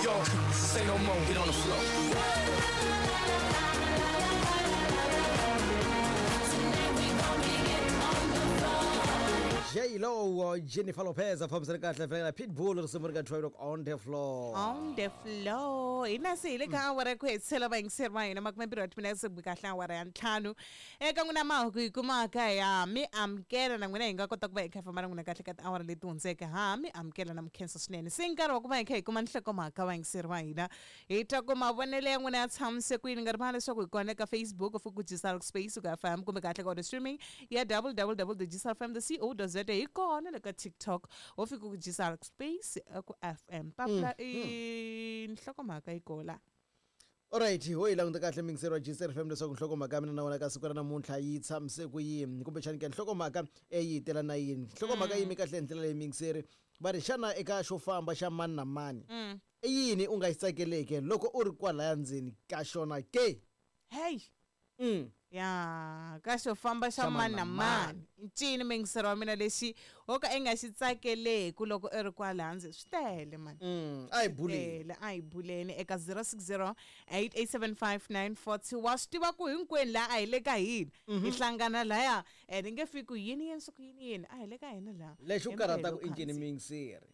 York. Say no more, get on the floor. J-Lo, Jennifer Lopez a fambisana kahle fela Pitbull risimu ri ka 12 on the floor. On the floor. Hina se hi le ka awara ya ku hetisela vayingiseri va hina 20 wa timinete ku kahle awara ya 5. Eka n'wina mahungu hi kumaka ya mi amukela na n'wina hi nga kota ku va hi kha hi famba na n'wina kahle ka tiawara leti hundzeke ha mi amukela na mukhensa swinene. Se nkarhi wa ku va hi kha hi kuma nhlokomhaka vayingiseri va hina. Hi twa ku mavonelo ya n'wina ya tshamise ku yini nga rivali leswaku hi kona eka Facebook ku Gisal Space ku FM kumbe kahle ka audio streaming ya www.gisalfm.co.za hi kona le ka TikTok ho fika ku Gisal Space ku FM. Papila i nhlokomhaka yi kola. Alright, ho yi languta kahle mingiseri wa GCR FM leswaku nhlokomhaka ya mina na wena ka siku ra namuntlha yi tshamise ku yini kumbexani ke nhlokomhaka yi tela na yini nhlokomhaka yi yime kahle hi ndlela leyi mingiseri va ri xana eka xo famba xa mani na mani i yini u nga xi tsakeleke loko u ri kwalaya ndzeni ka xona ke? Hey. Ya ka xo famba xa mani na mani ncini mingiseri wa mina lexi wo ka i nga xi tsakeleku loko i ri kwala ndzeni swi tele mani. A hi buleni. A hi buleni eka 060 8875942 wa swi tiva ku hinkwenu laha a hi le ka hina hi hlangana laya and nge fiki yini yini siku yini yini a hi le ka hina laha. Lexi u karhataka i ncini mingiseri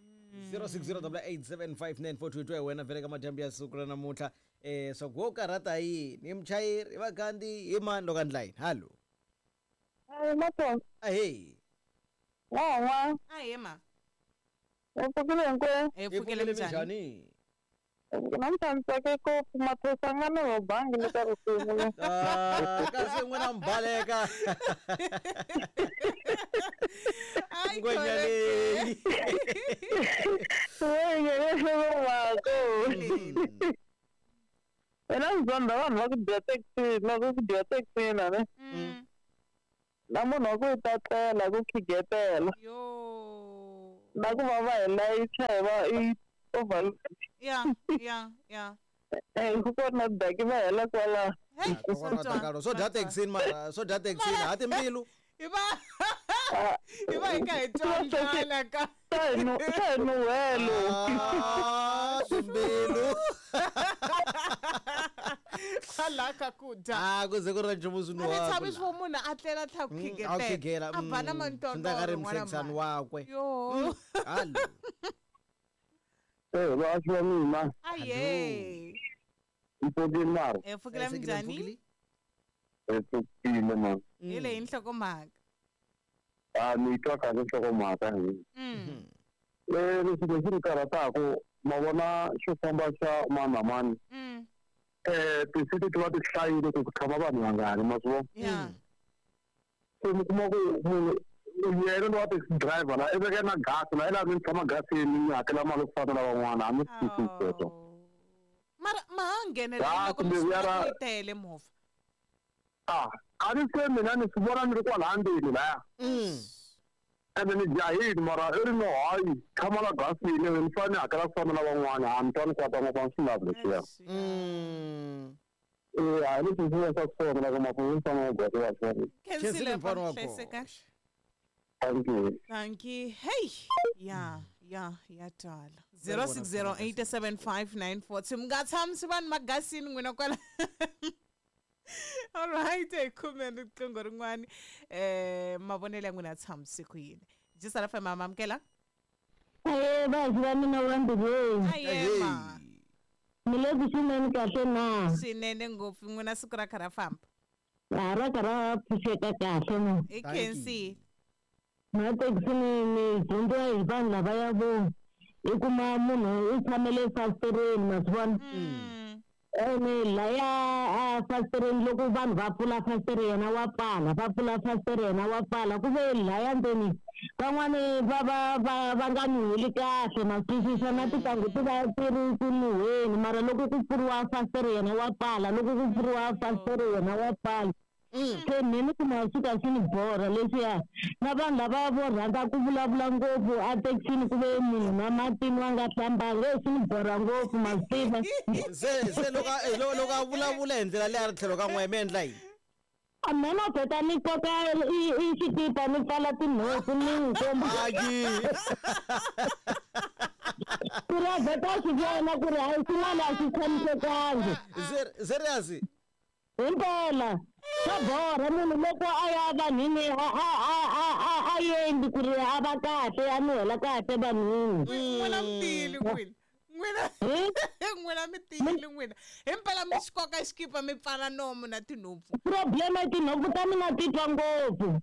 06088759422 twa hi wena vhele ka madyambu ya siku ra namuntlha swa ku wo karhata yini hi muchayeri hi vakhandziyi hi mani loko a ndla yini hallo. Mato. Ahee. Wa. Ahee ma. U pfukile hinkwenu? Hi pfukile minjhani? Namuntlha ni tsake ngopfu maphorisa nga ni robangi le ka risimu le. Kasi n'wina mi baleka. Ai, Ngwenya leyi. Mina ndzi zonda vanhu va ku dya taxi loko ku dya taxini ne. Na munhu wa ku yi tatlela ku khigetela. Yo. Na ku va va hi layicha hi va i overload. Ya, ya, ya. Ku kona daki va hela kwala. Hey, swo dya taxini mara swo dya taxini ha timbilu. Hi va hi ka hi twa ndlala ka. Swa hi nuhelo. Timbilu. Kwala ka ku dya. Ku ze ku ri na nchumu swi A ni tshami swo munhu a tlela tlha ku khigetela. A ba na mantontoro. Swi nga ri muhlekisani wakwe. Yo. Hallo. Va swi mina. Aye. Mpfukile mara. Hi pfukile minjhani? Hi pfukile mara. Hi leyi nhlokomhaka. Ni twa kahle nhlokomhaka hi. Leswi lexi ni karhataka ma vona xo famba xa mani na mani. Tisiti ti va ti hlayile ku tshama vanhu vangani ma swi vona. Se mi kuma ku munhu yena lowa taxi driver la i veke na gasi la i laha mi tshama gasini mi hakela mali ku fana na van'wana a mi swi twisisi sweswo. Mara ma ha nghenelela loko mi swi yi tele movha. A ni se mina ni swi vona ni ri kwala ndzeni laya. Ende ni jahile mara i ri no hayi tshama la gasini ni fanele ni hakela ku fana na van'wana a ni twa ni kwata ngopfu a ni swi lavi leswiya. A ni swi vona swa swona loko maphorisa ma goza wa swona. Khensile mfana wa hlayiseka. Thank you. Thank you. Hey. Ya, ya, ya twala. 06087594. Mi nga tshamisi vanhu magasini n'wina kwala. All right, hi khume riqingho rin'wani. Mavonelo ya n'wina ya tshamise ku yini? Jisala FM amukela. Va va mina wa mbilweni. Aye ma. Mi le ku swinene kahle na? Swinene ngopfu n'wina siku ra kha ra famba. Ra kha ra pfuxeka kahle na. Hi khensile. Na taxini ni dyondziwa hi vanhu lavaya vo i kuma munhu u tshamele fasitireni ma swi vona. Ene laya a fasitireni loko vanhu va pfula fasitere yena wa pfala va pfula fasitere yena wa pfala ku ve laya ndzeni van'wani va nga nuheli kahle ma twisisa na tintangu ti va ti ri ku nuheni mara loko ku pfuriwa fasitere yena wa pfala loko ku pfuriwa fasitere yena wa pfala. Se mina kuma swi ka swi ni borha leswiya na vanhu lava vo rhandza ku vulavula ngopfu a taxini ku ve munhu na matini wa nga hlambanga swi ni borha ngopfu ma swi tiva. Se loko a vulavula hi ndlela leyi a ri tlhelo ka n'we mi endla yini? Mina vheta ni koka i xikipa ni pfala tinhompfu ni n'wi komba. Ku ri Wa vheta swi vona ku ri hayi swin'wana a swi tshamisekangi. Serious? Himpela swa borha munhu loko a ya vanhwini a endli ku ri a va kahle, a nuhela kahle vanhwini. N'wina mi tiyile n'wina. N'wina n'wina mi tiyile n'wina. Himpela mi xi koka xikipa mi pfala nomu na tinhompfu. Problem i tinhompfu ta mina ti twa ngopfu.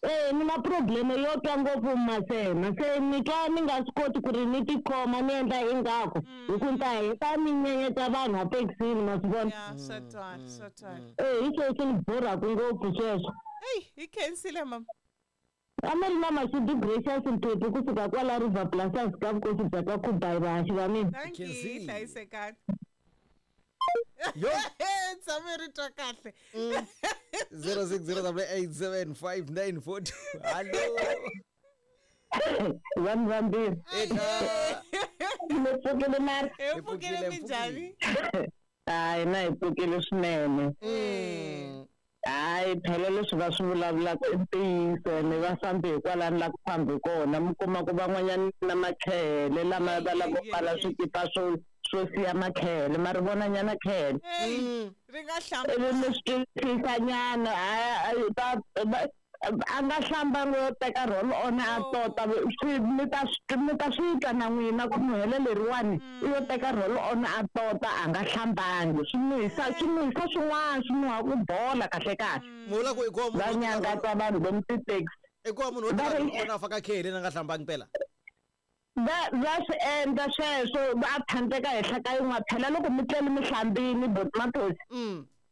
Ni na problem yo twa ngopfu masena, se ni twa ni nga swi koti ku ri ni tikhoma ni endla ingaku hi ku ni ta heta ni nyenyeta vanhu a thekisini, ma swi vona. Ya, swa twala, swa twala. Hi sweswo ni borhaku ngopfu sweswo. Eyi, hi khensile mama. A mi ri na Mashudu Gracious Mphephu kusuka kwala River Plus ka vukosi bya ka Khubayi vahaxi va mina. Thank you, Khensile. hlayisekani. Yo. Tshame ri twa kahle. 0608875942. Hallo. Vanhu vambirhi. Eka. Mi pfukile mara? Hi pfukile, minjhani? Hayi, na hi pfukile swinene. Hayi, phela leswi va swi vulavulaka i ntiyiso, ene va fambi hikwalani la ku fambi kona. Mi kuma ku van'wanyana na makhele lama va lava ku pfala swikipa swo siya makhele, ma ri vona nyana khele. Ri nga hlamba. Ivi mi swi twisisanyana, a nga hlambangi yo teka roll on a tota, mi ta swi twa na n'wina ku nuhelo leriwani i yo teka roll on a tota, a nga hlambangi. Swi nuhisa swin'wana, swi nuha ku bola kahle kahle. Mula ku i ku Va nyangatsa vanhu lomu tithekisi. I ku munhu wo teka roll on a faka khele na nga hlambangi phela. Va swi endla sweswo, va thandeka henhla ka yin'wana. Phela loko mi tlele mi hlambini botomatosi,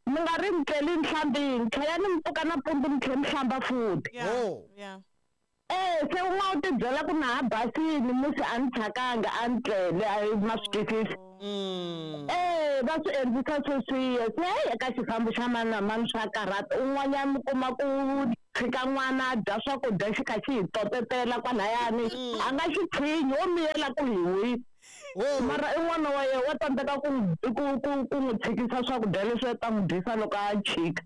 mi nga ri mi tlele mi hlambini, tlhela ni mi pfuka nampundzu mi tlhela mi hlamba futhi. Se un'wana u ti byela ku na ha basini musi a ni thyakanga, a ni tlele, a ma swi twisisi. Va swi endlisa sweswiya. Se heyi, eka xifambo xa mani na mani swa karhata. Un'wanyana mi kuma ku tshika n'wana a dya swakudya xi kha xi hi totetela kwalayani, a nga xi tshinyi, wo miyela ku hi wi. Mara i n'wana wa yena wa tsandzeka ku n'wi tshikisa swakudya leswi a ta n'wi dyisa loko a chika.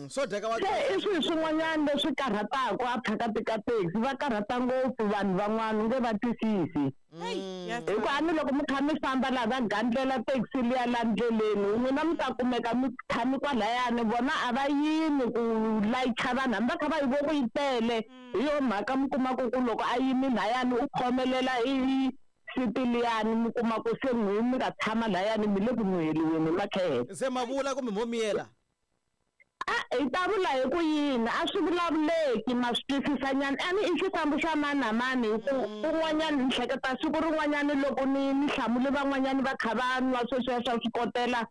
Swo dyeka wa Se i swilo swin'wanyana leswi karhataka a phakati ka taxi, va karhata ngopfu vanhu van'wana, u nge va twisisi. Hi ku a ni loko mi kha mi famba laha va gandlela taxi liya la ndleleni, n'wina mi ta kumeka mi tshami kwalayani, vona a va yimi ku layicha vanhu, hambi va kha va yi vo ku yi tele. Hi yo mhaka mi kumaka ku loko a yimi layani u khomelela i siti liyani, mi kuma ku se n'wi mi nga tshama layani mi le ku nuheliweni hi makhele. Se ma vula kumbe mo miyela? A hi ta vula hi ku yini, a swi vulavuleki, ma swi twisisanyana. A ni i xifambo xa mani na mani, hi ku un'wanyana ni hleketa siku rin'wanyana loko ni hlamule van'wanyana va kha va nwa sweswiya swa swikotela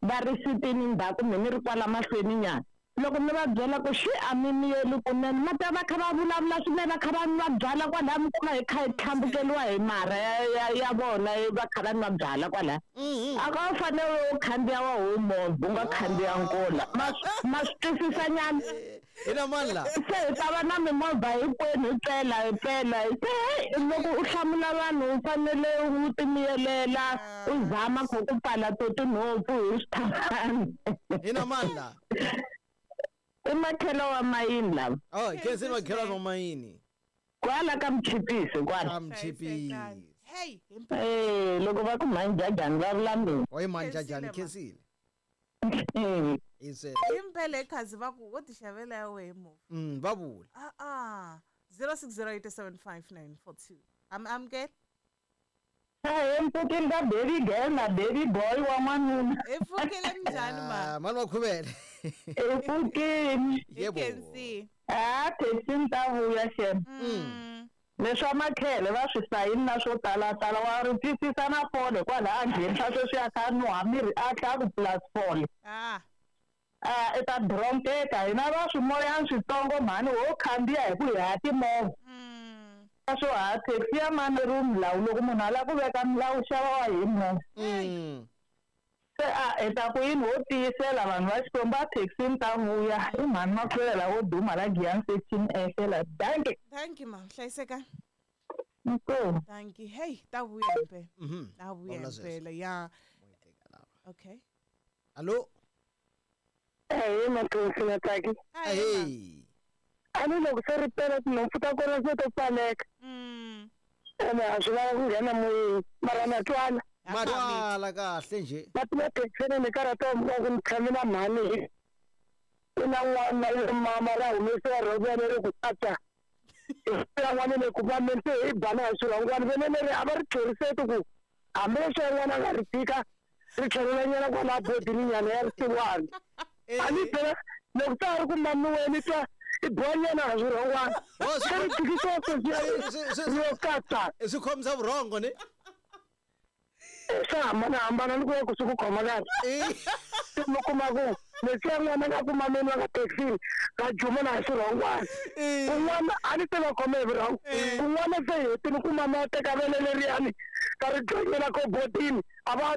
va ri sitini ndzhaku, me ni ri kwala mahlweni nyana. Loko ni va byela ku xi a mi miyeli kunene, ma ta va kha va vulavula swinene, va kha va nwa byala kwalaya, mi kuma hi kha hi tlhambukeriwa hi marha ya vona, va kha va nwa byala kwalaya. A ka u fanele u khandziya wa ho movha, u nga khandziya nkola. Ma swi twisisanyana. Ina mani la? Se hi ta va na mimovha hinkwenu, hi pela, hi pela. Se hey, loko u hlamula vanhu u fanele u timiyelela, u zama ku ku pfala to tinhompfu hi swithavani. Ina mani la? I makhelo wa mayini lava. Oh, khensini makhelo wa mayini. Kwala ka Mchipisi kwala. Ka Mchipisi. Hey, loko va ku manjajani va vula mina. Oyi manjajani khensile. Impela khazi va ku wo ti xavela ya wehe movha. Va vula. 0608759442. Amukela. Hi mpfukile ka baby girl na baby boy wa n'wanuna. Hi pfukile minjhani ma? Mani wa khuvele. Hi pfukile. Yebo. A taxi ni ta vuya xem. Leswa makhele va swi sayini na swo talatala, wa ri twisisa na fole kwala a nghenisa sweswi a kha a nuha miri a tlha ku plus fole. I ta dronkeka, hina va swimoyana switsongo mhani ho khandziya hi ku hi ha timovha. Swo ha taxi ya mani ri milawu, loko munhu a lava ku veka milawu xava wa hi movha. Se a hi ta ku yini, ho tiyisela vanhu va Xikwembu, a taxi ni ta vuya. I mhani makhwela wo duma la Giyani section ehlela. Dankie. Thank you ma'am, hlayiseka. Inkomu. Thank you. Hey, ta vuya impela. Ta vuya impela, ya. Okay. Allo. Hey, Makhosi na Tsaki. Hey. A ni loko se ri pela tinhompfu ta kona se to pfaleka. Ene a swi lava ku nghena moyeni mara na twana. Ma twala kahle nje. Va tiva thekisini ni karhata wa ku ni tshame na mhani i na n'wana le mama ra humesiwa rhongwana ri ku tata yan'wana le ku mameni se hi bana hi swirhongwana vene leri a va ri tlheriseti ku hambileswi yan'wana a nga ri tika ri tlhelelanyana kwala bodini nyana ya risiwana a ni phela loko ta ha ri ku mamiweni twa i bohanyana ha swirhongwana se ri tikisiwa sweswi yo katsa swi khomisa vurhongo ne swa hambanahambana ni ku ya ku swi ku khoma kahle mi kuma ku leswiya n'wana nga ku mameni va ka thekisini va juma na hi swirhongwana kun'wana a ni se va khome hi vurhongo kun'wana se hetini ku mama ya teka vele leriyani va ri jonyela kobotini a va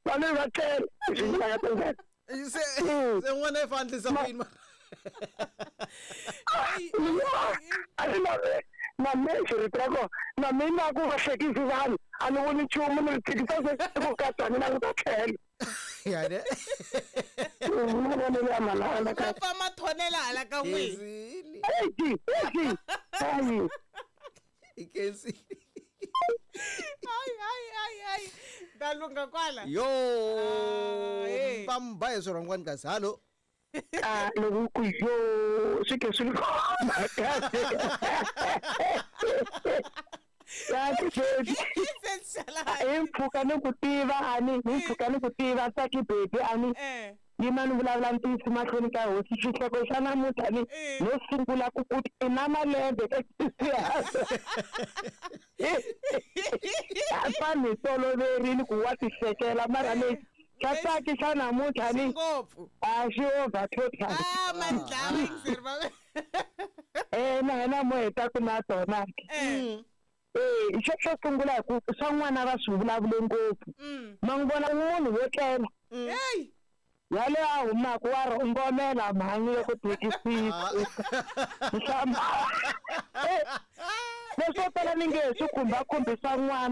va ne va tlela swi nga tindlela se se n'wana i fa endlisa ku yini a ni na na me xirito ra kona na mina ku va hlekisi vanhu a ni voni nchumu ni ri tshikisa se ku katsa ni languta tlhelo yani mavonelo ya manana va pfa mathonela hala ka n'wina Khensile eyi eyi ayi i khensile hayi hayi hayi hayi ta lungha kwala yo hey. va mi ba hi swirhongwani kasi hallo a loko ku yo swi ke swi khoma kahle kahle baby se xala hi mpfhuka ni ku tiva ani hi mpfhuka ni ku tiva tsaki baby ani eh yima ni vulavula ntiyiso mahlweni ka hosi xihloko xa namuntlha ni no sungula ku ku i na malembe ka vanhu hi toloverile ku wa tihlekela mara lexi xa tsaki xa namuntlha ni ngopfu a xi over total ah mandlava yingiseri va eh na hina mo heta ku na tona eh eh xo xo sungula hi ku swa n'wana va swi vulavule ngopfu ma n'wi vona munhu wo tlela hey yale a humaka wa rhongomela mhani loko thekisini nhlamba leswo tala ni nge he swi khumbakhumbi swa n'wana.